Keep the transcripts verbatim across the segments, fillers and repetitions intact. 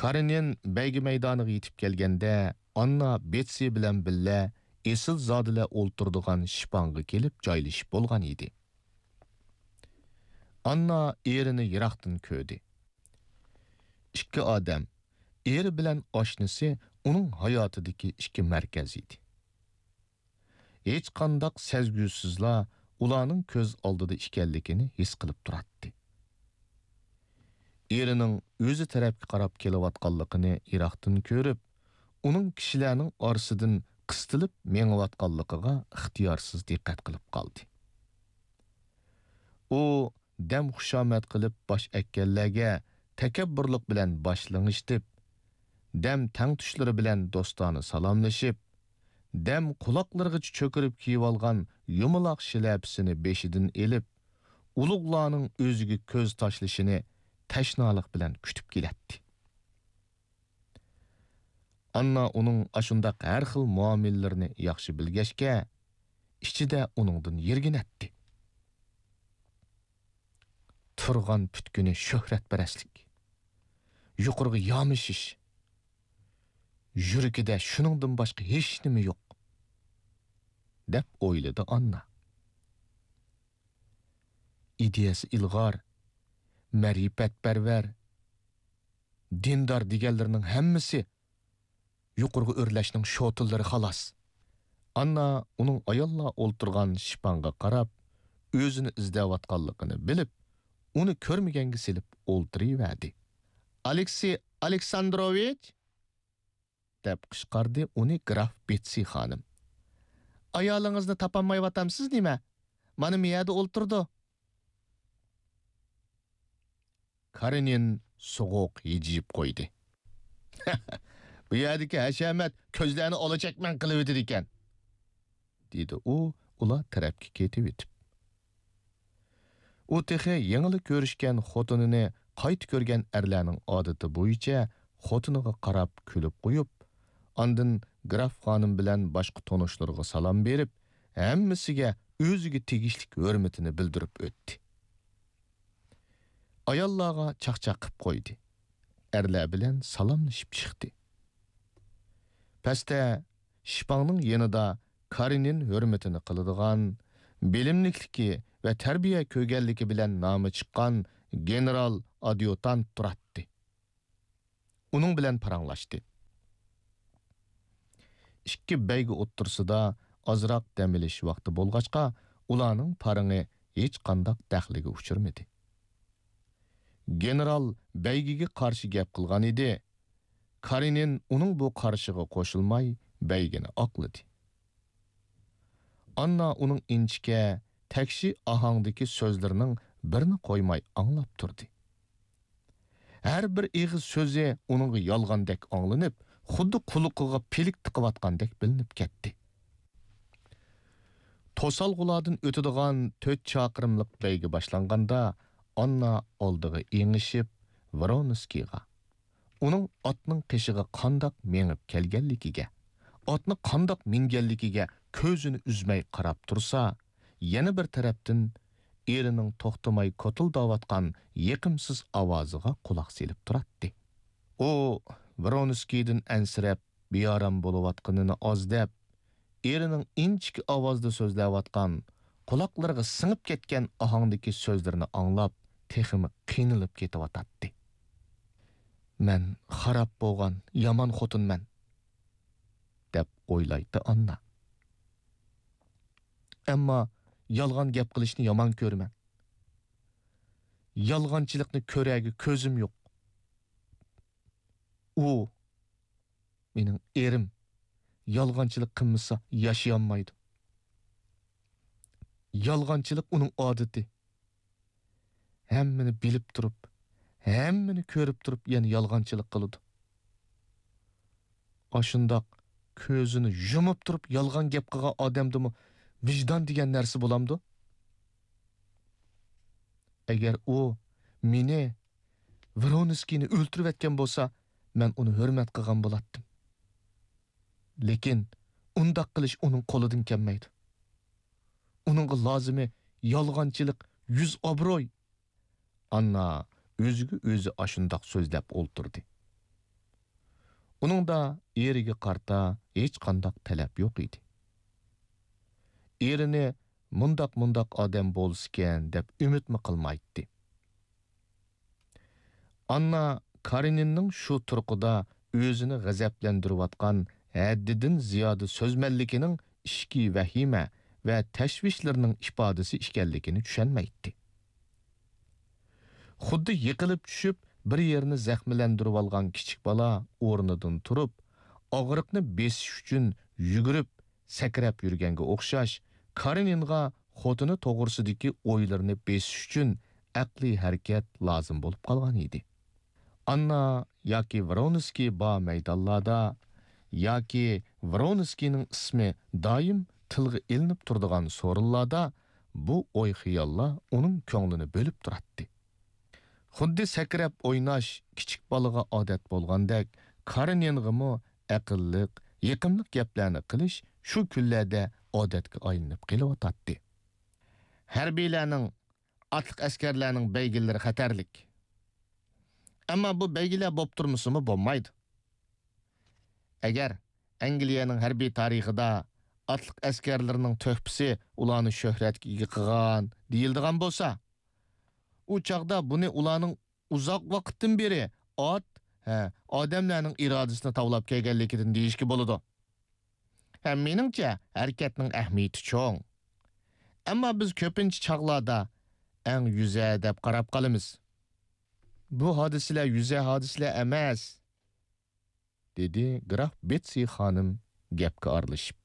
قارېنىن بەيگە مەيدانىغا يېتىپ كەلگەندە، ئاننا بېتسى بىلەن بىللە ئېسىلزادىلەر ئولتۇرىدىغان شىپاڭغا كېلىپ جايلىشىپ بولغان ئىدى. ئاننا ئېرىنى يىراقتىن كۆردى. ئىككى ئادەم، ئېرى بىلەن ئاشنىسى ئۇنىڭ ھاياتىدىكى ئىككى مەركەز ئىدى. ھېچقانداق سەزگۈسىزلا ئۇلارنىڭ كۆز ئالدىدا ئىكەنلىكىنى ھېس قىلىپ تۇراتتى. ئېرىنىڭ ئۆزى تەرەپكە قاراپ كېلىۋاتقانلىقىنى يىراقتىن كۆرۈپ، ئۇنىڭ كىشىلەرنىڭ ئارىسىدىن قىستىلىپ مېڭىۋاتقانلىقىغا ئىختىيارسىز دىققەت قىلىپ قالدى. ئۇ دەم خۇشامەت قىلىپ باش ئەگكەنلەرگە تەكەببۇرلۇق بىلەن باش لىڭشىتىپ، دەم تەڭتۇشلىرى بىلەن دوستانە سالاملىشىپ، دەم قۇلاقلىرىغىچە چۆكۈرۈپ كىيىۋالغان يۇمىلاق شىلەپىسىنى بېشىدىن ئېلىپ، ئۇلۇغلارنىڭ ئۆزىگە كۆز تاشلىشىنى تەشنالىق بىلەن كۈتۈپ كېلەتتى. ئاننا ئۇنىڭ ئاشۇنداق ھەر خىل مۇئامىلىلىرىنى ياخشى بىلگەچكە، ئىچىدە ئۇنىڭدىن يىرگىنەتتى. تۇرغان پۈتكۈنى شۆھرەتپەرەسلىك، يۇقىرىغا يامىشىش، يۈرىكىدە شۇنىڭدىن باشقا ھېچنېمە يوق، دەپ ئويلىدى ئاننا. ئىدىيەسى ئىلغار، مەرىپەتپەرۋەر، دىندار دېگەنلىرىنىڭ ھەممىسى يۇقىرىغا ئۆرلەشنىڭ شوتىلىرى خالاس. ئاننا ئۇنىڭ ئاياللار ئولتۇرغان شىپاڭغا قاراپ، ئۆزىنى ئىزدەۋاتقانلىقىنى بىلىپ، ئۇنى كۆرمىگەنگە سېلىپ ئولتۇرۇۋەردى. ئالېكسىي ئالېكساندروۋىچ! دەپ قىچقاردى ئۇنى گراف بېتسى خانىم. ئايالىڭىزنى تاپالمايۋاتامسىز نېمە؟ مانا مۇ يەردە ئولتۇرىدۇ. كارېنىن سوغۇق ھىجىيىپ قويدى. بۇ يەردىكى ھەشەمەت كۆزلەرنى ئالا چەكمەن قىلىۋېتىدىكەن، دېدى ئۇ ئۇلار تەرەپكە كېتىۋېتىپ. ئۇ تېخى يېڭىلا كۆرۈشكەن خوتۇنىنى قايتا كۆرگەن ئەرلەرنىڭ ئادىتى بويىچە خوتۇنىغا قاراپ كۈلۈپ قويۇپ، ئاندىن گراف خانىم بىلەن باشقا تونۇشلىرىغا سالام بېرىپ، ھەممىسىگە ئۆزىگە تېگىشلىك ھۆرمىتىنى بىلدۈرۈپ ئۆتتى. ئاياللارغا چاقچاق قىپ قويدى. ئەرلەر بىلەن سالاملىشىپ چىقتى. پەستە شىپاڭنىڭ يېنىدا كارېنىن ھۆرمىتىنى قىلىدىغان، بىلىملىكلىكى ۋە تەربىيە كۆرگەنلىكى بىلەن نامى چىققان گېنېرال ئاديۇتانت تۇراتتى. ئۇنىڭ بىلەن پاراڭلاشتى. ئىككى بەيگە ئوتتۇرىسىدا ئازراق دەم ئېلىش ۋاقتى بولغاچقا، ئۇلارنىڭ پارىڭى ھېچقانداق دەخلىگە ئۇچرىمىدى. گېنېرال بەيگىگە قارشى گەپ قىلغان ئىدى. كارېنىن ئۇنىڭ بۇ قارىشىغا قوشۇلماي، بەيگىنى ئاقلىدى. ئاننا ئۇنىڭ ئىنچىكە، تەكشى ئاھاڭدىكى سۆزلىرىنىڭ بىرىنى قويماي ئاڭلاپ تۇردى. ھەر بىر ئېغىز سۆزى ئۇنىڭغا يالغاندەك ئاڭلىنىپ، خۇددى قۇلىقىغا پىلىك تىقىۋاتقاندەك بىلىنىپ كەتتى. توسالغۇلاردىن ئۆتىدىغان تۆت چاقىرىملىق بەيگە باشلانغاندا، ئاننا ئالدىغا ئېڭىشىپ، ۋرونسكىيغا، ئۇنىڭ ئاتنىڭ قېشىغا قانداق مېڭىپ كەلگەنلىكىگە، ئاتنى قانداق مىنگەنلىكىگە كۆزىنى ئۈزمەي قاراپ تۇرسا، يەنە بىر تەرەپتىن ئېرىنىڭ توختىماي كوتۇلداۋاتقان يېقىمسىز ئاۋازىغا قۇلاق سېلىپ تۇراتتى. ئۇ ۋرونسكىيدىن ئەنسىرەپ، بىئارام بولۇۋاتقىنىنى ئاز دەپ، ئېرىنىڭ ئىنچىكە ئاۋازدا سۆزلەۋاتقان، قۇلاقلىرىغا سىڭىپ كەتكەن ئاھاڭدىكى سۆزلىرىنى ئاڭلاپ، تېخىمۇ قىينىلىپ كېتىۋاتاتتى. «مەن خاراب بولغان يامان خوتۇنمەن» دەپ ئويلايتتى ئاننا. «ئەمما يالغان گەپ قىلىشنى يامان كۆرىمەن. يالغانچىلىقنى كۆرەرگە كۆزۈم يوق. ئۇ، مېنىڭ ئېرىم، يالغانچىلىق قىلمىسا ياشىيالمايدۇ. يالغانچىلىق ئۇنىڭ ئادىتى. ھەممىنى بىلىپ تۇرۇپ، ھەممىنى كۆرۈپ تۇرۇپ يەنە يالغانچىلىق قىلىدۇ. ئاشۇنداق كۆزىنى يۇمۇپ تۇرۇپ يالغان گەپ قىلغان ئادەمدىمۇ ۋىجدان دېگەن نەرسە بولامدۇ؟ ئەگەر ئۇ مېنى، ۋرونسكىينى ئۆلتۈرۈۋەتكەن بولسا، مەن ئۇنى ھۆرمەت قىلغان بولاتتىم. لېكىن ئۇنداق قىلىش ئۇنىڭ قولىدىن كەلمەيدۇ. ئۇنىڭغا لازىمى يالغانچىلىق، يۈز ئابروي.» ئاننا ئۆزىگە ئۆزى ئاشۇنداق سۆزلەپ ئولتۇردى. ئۇنىڭدا ئېرىگە قارىتا ھېچقانداق تەلەپ يوق ئىدى. ئېرىنى مۇنداق-مۇنداق ئادەم بولسىكەن دەپ ئۈمىدمۇ قىلمايتتى. ئاننا كارېنىننىڭ شۇ تۇرقىدا ئۆزىنى غەزەپلەندۈرۈۋاتقان ھەددىدىن زىيادە سۆزمەنلىكىنىڭ ئىچكى ۋەھىمە ۋە تەشۋىشلىرىنىڭ ئىپادىسى ئىكەنلىكىنى چۈشەنمەيتتى. خۇددى يىقىلىپ چۈشۈپ، بىر يېرىنى زەخىملەندۈرۈۋالغان كىچىك بالا ئورنىدىن تۇرۇپ، ئاغرىقنى بېسىش ئۈچۈن يۈگۈرۈپ، سەكرەپ يۈرگەنگە ئوخشاش، كارېنىنغا خوتۇنى توغرىسىدىكى ئويلىرىنى بېسىش ئۈچۈن ئەقلىي ھەرىكەت لازىم بولۇپ قالغان ئىدى. ئاننا ياكى ۋرونسكىي بار مەيدانلاردا، ياكى ۋرونسكىينىڭ ئىسمى دائىم تىلغا ئېلىنىپ تۇرىدىغان سورۇنلاردا بۇ ئوي-خىياللار ئۇنىڭ كۆڭلىنى بۆلۈپ تۇراتتى. خۇددى سەكرەپ ئويناش كىچىك بالىغا ئادەت بولغاندەك، كارېنىنغىمۇ ئەقىللىق، يېقىملىق گەپلەرنى قىلىش شۇ كۈنلەردە ئادەتكە ئايلىنىپ قېلىۋاتاتتى. ھەربىيلەرنىڭ، ئاتلىق ئەسكەرلەرنىڭ بەيگىلىرى خەتەرلىك. ئەمما بۇ بەيگىلەر بوپ تۇرمىسىمۇ بولمايدۇ. ئەگەر ئەنگلىيەنىڭ ھەربىي تارىخىدا ئاتلىق ئەسكەرلىرىنىڭ تۆھپىسى ئۇلارنى شۆھرەتكە ئىگە قىلغان دېيىلىدىغان بولسا، ئۇ چاغدا بۇنى ئۇلارنىڭ ئۇزاق ۋاقىتتىن بېرى ئات، ھە، ئادەملەرنىڭ ئىرادىسىنى تاۋلاپ كەلگەنلىكىدىن دېيىشكە بولىدۇ. ھە، مېنىڭچە، ھەرىكەتنىڭ ئەھمىيىتى چوڭ. ئەمما بىز كۆپىنچە چاغلاردا ئەڭ يۈزە دەپ قاراپ قالىمىز. بۇ ھادىسىلەر يۈزە ھادىسىلەر ئەمەس، دېدى گراف بېتسى خانىم گەپكە ئارىلىشىپ.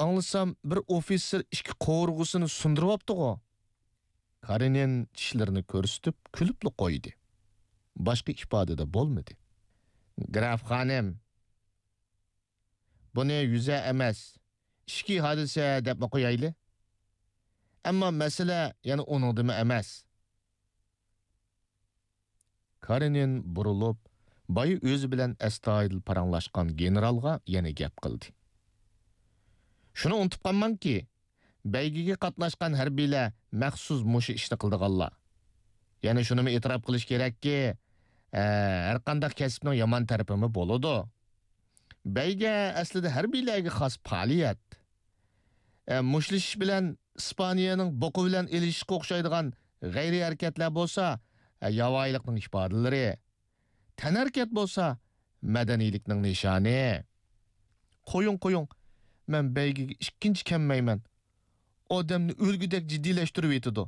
ئاڭلىسام، بىر ئوفىتسېر ئىككى قوۋۇرغىسىنى سۇندۇرۇۋاپتىغۇ؟ كارېنىن چىشلىرىنى كۆرسىتىپ كۈلۈپلا قويدى. باشقا ئىپادىدە بولمىدى. گراف خانىم، بۇنى يۈزە ئەمەس، ئىچكى ھادىسە دەپمۇ قويايلى. ئەمما مەسىلە يەنە ئۇنىڭدىمۇ ئەمەس. كارېنىن بۇرۇلۇپ، بايا ئۆزى بىلەن ئەستايىدىل پاراڭلاشقان گېنېرالغا يەنە گەپ قىلدى. شۇنى ئۇنتۇپ قالماڭكى، بەيگىگە قاتناشقان ھەربىيلەر مەخسۇس مۇشۇ ئىشنى قىلىدىغانلار. يەنە شۇنىمۇ ئېتىراپ قىلىش كېرەككى، ئە، ھەرقانداق كەسىپنىڭ يامان تەرىپىمۇ بولىدۇ. بەيگە ئەسلىدە ھەربىيلەرگە خاس پائالىيەت. ئە، مۇشتلىشىش بىلەن ئىسپانىيەنىڭ بوقا بىلەن ئېلىشىشقا ئوخشايدىغان غەيرىي ھەرىكەتلەر بولسا، ئە، ياۋايىلىقنىڭ ئىپادىلىرى. تەنھەرىكەت بولسا، مەدەنىيلىكنىڭ نىشانى. قويۇڭ، قويۇڭ، مەن بەيگىگە ئىككىنچى كەلمەيمەن. ئادەمنى ئۆلگۈدەك جىددىيلەشتۈرۈۋېتىدۇ،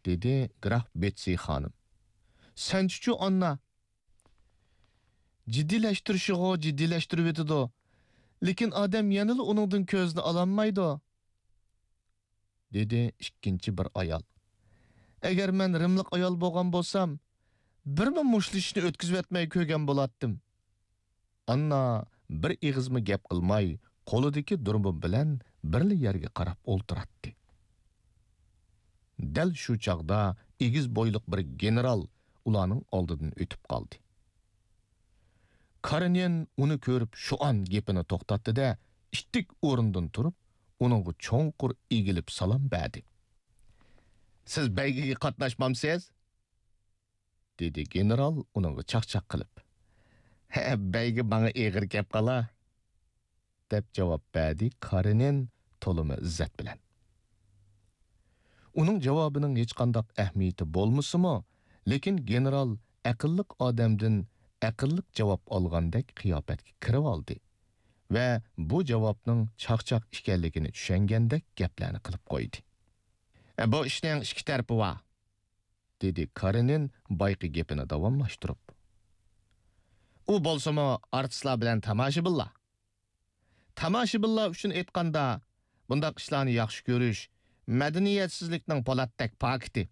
دېدى گراف بېتسى خانىم. سەنچىچۇ، ئاننا؟ جىددىيلەشتۈرۈشىغۇ جىددىيلەشتۈرۈۋېتىدۇ، لېكىن ئادەم يەنىلا ئۇنىڭدىن كۆزىنى ئالالمايدۇ، دېدى ئىككىنچى بىر ئايال. ئەگەر مەن رىملىق ئايال بولغان بولسام، بىرمۇ مۇشتلىشىشنى ئۆتكۈزۈۋەتمەي كۆرگەن بولاتتىم. ئاننا بىر ئېغىزمۇ گەپ قىلماي، قولىدىكى دۇربۇن بىلەن بىرلا يەرگە قاراپ ئولتۇراتتى. دەل شۇ چاغدا ئېگىز بويلۇق بىر گېنېرال ئۇلارنىڭ ئالدىدىن ئۆتۈپ قالدى. كارېنىن ئۇنى كۆرۈپ شۇئان گېپىنى توختاتتى-دە، ئىتتىك ئورنىدىن تۇرۇپ، ئۇنىڭغا چوڭقۇر ئېگىلىپ سالام بەردى. سىز بەيگىگە قاتناشمامسىز؟ دېدى گېنېرال ئۇنىڭغا چاقچاق قىلىپ. ھە، بەيگە ماڭا ئېغىر كەپ قالا، دەپ جاۋاب بەردى كارېنىن تولىمۇ ئىززەت بىلەن. ئۇنىڭ جاۋابىنىڭ ھېچقانداق ئەھمىيىتى بولمىسىمۇ، لېكىن گېنېرال ئەقىللىق ئادەمدىن ئەقىللىق جاۋاب ئالغاندەك قىياپەتكە كىرىۋالدى ۋە بۇ جاۋابنىڭ چاقچاق ئىكەنلىكىنى چۈشەنگەندەك گەپلەرنى قىلىپ قويدى. ئە، بۇ ئىشنىڭ ئىككى تەرىپى بار، دېدى كارېنىن بايىقى گېپىنى داۋاملاشتۇرۇپ. ئۇ بولسىمۇ ئارتىسلار بىلەن تاماشىبىنلار. تاماشىبىنلار ئۈچۈن ئېيتقاندا، بۇنداق ئىشلارنى ياخشى كۆرۈش مەدەنىيەتسىزلىكنىڭ پولاتتەك پاكىتى.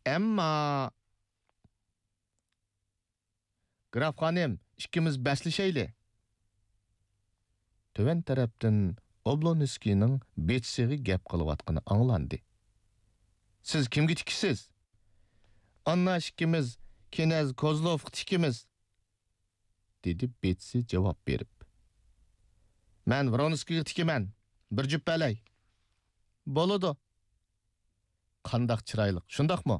ئەمما، گراف خانىم، ئىككىمىز بەسلىشەيلى. تۆۋەن تەرەپتىن ئوبلونسكىينىڭ بېتسىغا گەپ قىلىۋاتقىنى ئاڭلاندى. سىز كىمگە تىكىسىز؟ ئاننا ئىككىمىز كىنەز كوزلوفقا تىكىمىز، دېدى بېتسى جاۋاب بېرىپ. مەن ۋرونسكىيغا تىكىمەن. بىر جۈپ بەرلەي. بولىدۇ. قانداق چىرايلىق، شۇنداقمۇ؟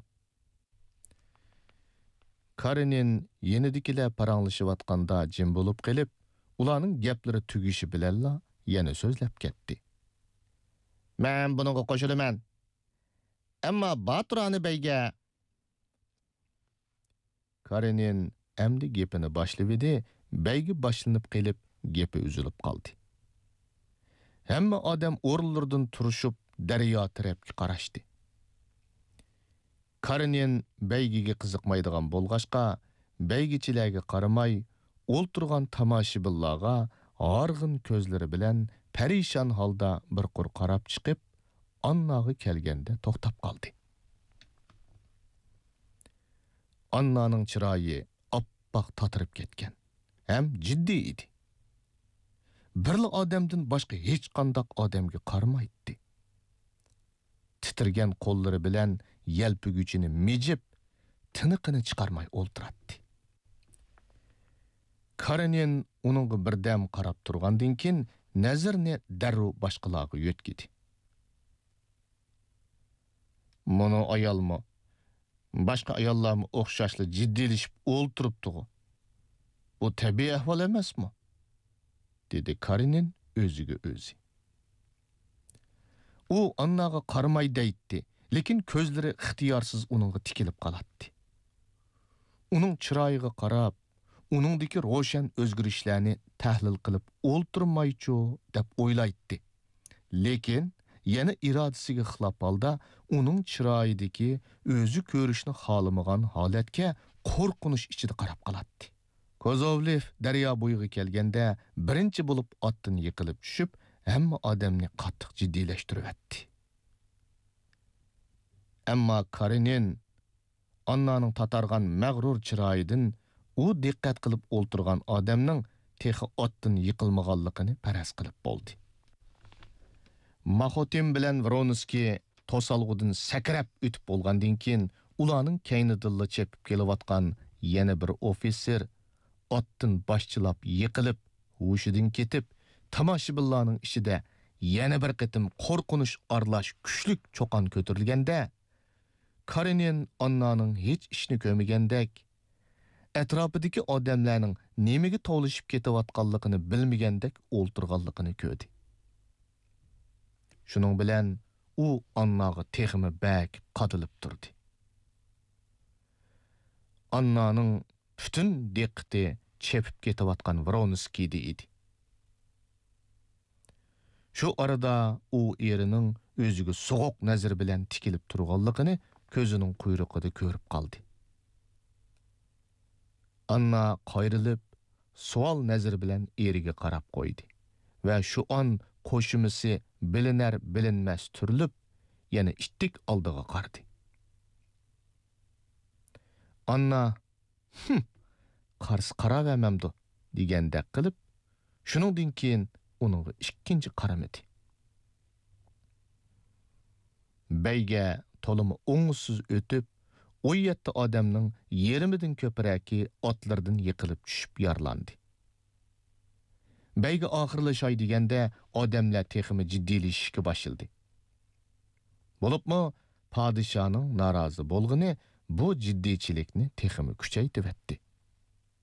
كارېنىن يېنىدىكىلەر پاراڭلىشىۋاتقاندا جىم بولۇپ قېلىپ، ئۇلارنىڭ گەپلىرى تۈگىشى بىلەنلا يەنە سۆزلەپ كەتتى. مەن بۇنىڭغا قوشۇلىمەن. ئەمما باتۇرانى بەيگە. كارېنىن ئەمدى گېپىنى باشلىۋىدى، بەيگە باشلىنىپ قېلىپ، گېپى ئۈزۈلۈپ قالدى. ھەممە ئادەم ئورۇنلىرىدىن تۇرۇشۇپ، دەريا تەرەپكە قاراشتى. كارېنىن بەيگىگە قىزىقمايدىغان بولغاچقا، بەيگىچىلەرگە قارىماي، ئولتۇرغان تاماشىبىنلارغا ھارغىن كۆزلىرى بىلەن پەرىشان ھالدا بىر قۇر قاراپ چىقىپ، ئانناغا كەلگەندە توختاپ قالدى. ئاننانىڭ چىرايى ئاپئاق تاتىرىپ كەتكەن ھەم جىددىي ئىدى. بىرلا ئادەمدىن باشقا ھېچقانداق ئادەمگە قارىمايتتى. تىترىگەن قوللىرى بىلەن يەلپۈگۈچىنى مىجىپ، تىنىقىنى چىقارماي ئولتۇراتتى. كارېنىن ئۇنىڭغا بىردەم قاراپ تۇرغاندىن كېيىن، نەزىرىنى دەررۇ باشقىلارغا يۆتكىدى. مۇنۇ ئايالمۇ، باشقا ئاياللارمۇ ئوخشاشلا جىددىيلىشىپ ئولتۇرۇپتىغۇ. بۇ تەبىئىي ئەھۋال ئەمەسمۇ؟ دېدى كارېنىن ئۆزىگە ئۆزى. ئۇ ئانناغا قارىماي دەيتتى، لېكىن كۆزلىرى ئىختىيارسىز ئۇنىڭغا تىكىلىپ قالاتتى. ئۇنىڭ چىرايىغا قاراپ، ئۇنىڭدىكى روشەن ئۆزگىرىشلەرنى تەھلىل قىلىپ ئولتۇرمايچۇ دەپ ئويلايتتى. لېكىن يەنە ئىرادىسىگە خىلاپ ھالدا ئۇنىڭ چىرايىدىكى ئۆزى كۆرۈشنى خالىمىغان ھالەتكە قورقۇنچ ئىچىدە قاراپ قالاتتى. كوزوۋلېف دەريا بويىغا كەلگەندە، بىرىنچى بولۇپ ئاتتىن يىقىلىپ چۈشۈپ، ھەممە ئادەمنى قاتتىق جىددىيلەشتۈرۈۋەتتى. ئەمما كارېنىن ئاننانىڭ تاتارغان مەغرۇر چىرايىدىن ئۇ دىققەت قىلىپ ئولتۇرغان ئادەمنىڭ تېخى ئاتتىن يىقىلمىغانلىقىنى پەرەز قىلىپ بولدى. ماخوتىن بىلەن ۋرونسكىي توسالغۇدىن سەكرەپ ئۆتۈپ بولغاندىن كېيىن، ئۇلارنىڭ كەينىدىنلا چېپىپ كېلىۋاتقان يەنە بىر ئوفىتسېر ئاتتىن باشچىلاپ يىقىلىپ، ھوشىدىن كېتىپ، تاماشىبىنلارنىڭ ئىچىدە يەنە بىر قېتىم قورقۇنچ ئارىلاش كۈچلۈك چۇقان كۆتۈرۈلگەندە، كارېنىن ئاننانىڭ ھېچ ئىشنى كۆرمىگەندەك، ئەتراپىدىكى ئادەملەرنىڭ نېمىگە توۋلىشىپ كېتىۋاتقانلىقىنى بىلمىگەندەك ئولتۇرغانلىقىنى كۆردى. شۇنىڭ بىلەن ئۇ ئانناغا تېخىمۇ بەك قادىلىپ تۇردى. ئاننانىڭ پۈتۈن دىققىتى چېپىپ كېتىۋاتقان ۋرونسكىيدە ئىدى. شۇ ئارىدا ئۇ ئېرىنىڭ ئۆزىگە سوغۇق نەزىرى بىلەن تىكىلىپ تۇرغانلىقىنى كۆزىنىڭ قۇيرۇقىدا كۆرۈپ قالدى. ئاننا قايرىلىپ، سوئال نەزىرى بىلەن ئېرىگە قاراپ قويدى ۋە شۇ ئان قوشۇمىسى بىلىنەر-بىلىنمەس تۈرۈلۈپ، يەنە ئىتتىك ئالدىغا قارىدى. ئاننا، ھىم، قارىسا قاراۋەرمەمدۇ، دېگەندەك قىلىپ، شۇنىڭدىن كېيىن ئۇنىڭغا ئىككىنچى قارىمىدى. بەيگە تولىمۇ ئوڭۇشسىز ئۆتۈپ، ئون يەتتە ئادەمنىڭ يېرىمىدىن كۆپرەكى ئاتلىرىدىن يىقىلىپ چۈشۈپ يارىلاندى. بەيگە ئاخىرلىشاي دېگەندە، ئادەملەر تېخىمۇ جىددىيلىشىشكە باشلىدى. بولۇپمۇ پادىشاھنىڭ نارازى بولغىنى بۇ جىددىيچىلىكنى تېخىمۇ كۈچەيتىۋەتتى.